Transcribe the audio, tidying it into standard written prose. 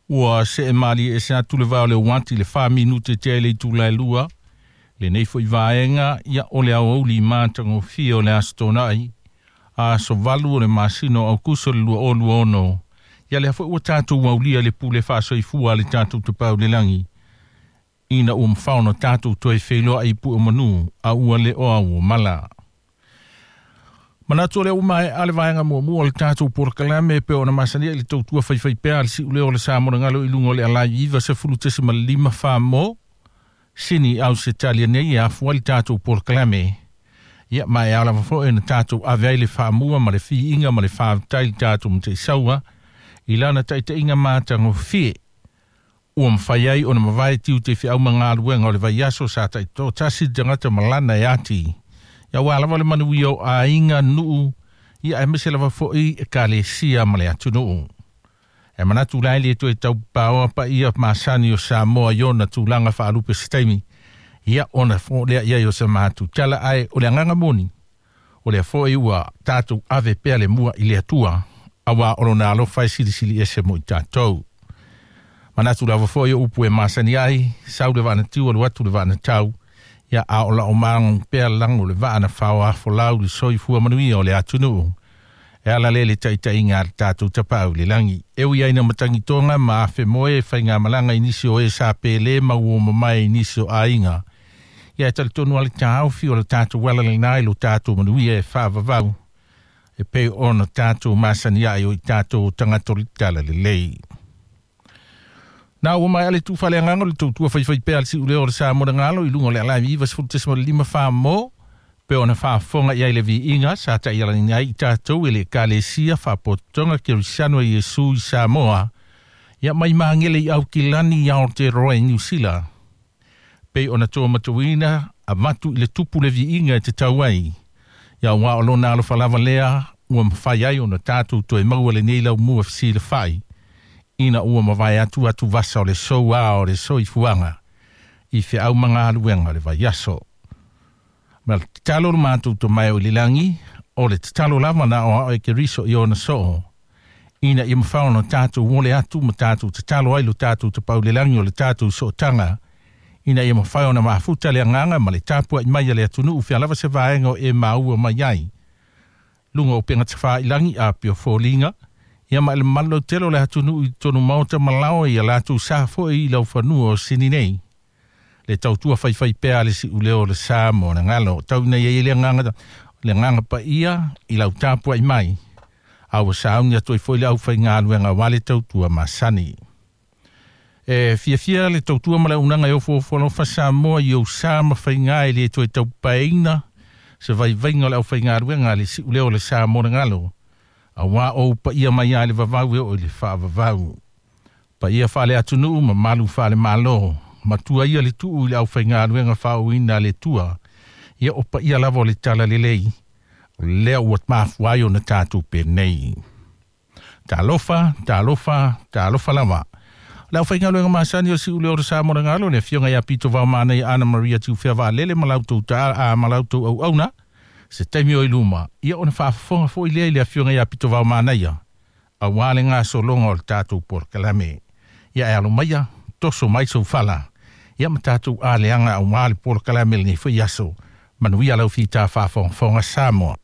Ua see malie ese atu le vao le uati le 4 minute tea i le itula e 2. Lenei foi vaega ia o le aoauli matagofie o le Aso Toonai, aso 8 o le masina o Aukuso le 2026. Ia lea foi ua tatou aulia le pule faasoifua a le tatou Tapaau i le Lagi, ina ua mafao ona tatou toe feiloai i pue o manu a ua le o au o mala. Manatu o lea ua maea le vaega muamua o le tatou polokalame pe ona masania i le tautua faifaipea a le siuleo o le sa monogalo i luga o le alai 90.5 famo sini au se talia nei e afua le tatou polokalame. Ia ma e ala foi na tatou ave ai le faamua ma le fiiga ma le faafetai le tatou Mataisaua i lana taitaiga matagofie ua mafai ai ona mavae tiute feau ma galuega o le vaiaso sa taitoatasi le tagata ma lana e ati. Ia ua lava le manuia o aiga nuu, ia aemaise lava foi ekalesia ma le atunuu. E manatu la e le toe taupaoa paia masani o Samoa i ona tulaga faalupe se taimi, ia ona fo lea ia i o se matu tala ae o le agaga moni. O lea foi ua tatou ave pea le mua i le Atua, auā o lona alofa e silisili ese mo i tatou. Manatu lava foi o upu e masani ai, sau le vaa na tiu alu atu le vaa na tau, ia a o lao mago pea lago le vaa na faoafolau le soifua manuia o le atunuu. E ala lea le taitaiga a le tatou Tapaau i le Lagi. E ui ai na matagitoga ma afe moe faigamalaga i nisi o e sa pele ma ua mamae i nisi o aiga. Ia e talitonu ale taofi o le tatou ala lena i lo tatou manuia e faavavau e pei ona tatou masani ai o i tatou tagata o le tala lelei. Na ua mai ale tu fale agaga o le tautua faifai pea le siuleo o le sa monogalo i luga o le alai 90.5 famo pe ona faafofoga i ai le viiga sa taialagi ai i tatou e le Ekalesia Faapotopotoga Kerisiano e Iesu i Samoa ia mai Magele i Aukilani i Aotearoa i Niu Sila. Pei ona toa matauina avatu i le tupu le viiga e te tau ai. Ia ua o lona alofa lava lea ua mafai ai ona tatou toe maua lenei laumua fesilafai ina ua mavae atu atu vasa o le soua o le soifuaga i feau ma galuega o le vaiaso. Ma le tatalo le matou Tamae o i le lagi, o le tatalo lava na o ao e Keriso i ona soo, ina ia mafai ona tatou ole atu ma tatou tatalo ai lo tatou Tapaau i le Lagi o le tatou sootaga, ina ia mafai ona mafuta le agaga ma le tapuai mai a le atunuu fea lava se vaega o e maua mai ai. Luga o upega tafailagi a pea foliga, ia ma le malo tele o le atunuu i totonu maota ma lao ia latou sa foi i laufanua o Sini nei. Le tautua faifaipea a le siuleo o le sa mo le galo. Tau ina ia i le agaga paia i lau tapuai mai. A ua sauni atu ai foi le aufaigaluega aua le tautua masani. E fiafia le tautua ma le auaunaga e ofoofo alofa Samoa i ou sa ma faiga e le toe taupaeina se vaivaiga o le aufaigaluega a le siuleo o le sa mo le galo. Auā o paia mai a le vavau e oo i le faavavau. Paia faale atunuu ma malu faale malo. Matua ia le tuu i le aufaigaluega faaauauina a le Atua. Ia o paia lava o le tala lelei. O lea ua mafua ai ona tatou penei. Talofa, talofa, talofa lava. Le aufaigaluega masani o siuleo o le sa mo le galo, le afioga ia Pito Vaomanai Ana Maria Tiufea Vaalele ma lautou ta a ma lautou auauna. Se taimi o i luma, ia ona faafofoga foi lea i le afioga ia Pito Vaomanaia, auā le gasologa o le tatou polokalame. Ia e alo maia, toso mai sou fala, ia ma tatou aleaga auā le polokalame lenei foi aso. Manuia lau fita faafogafoga Samoa.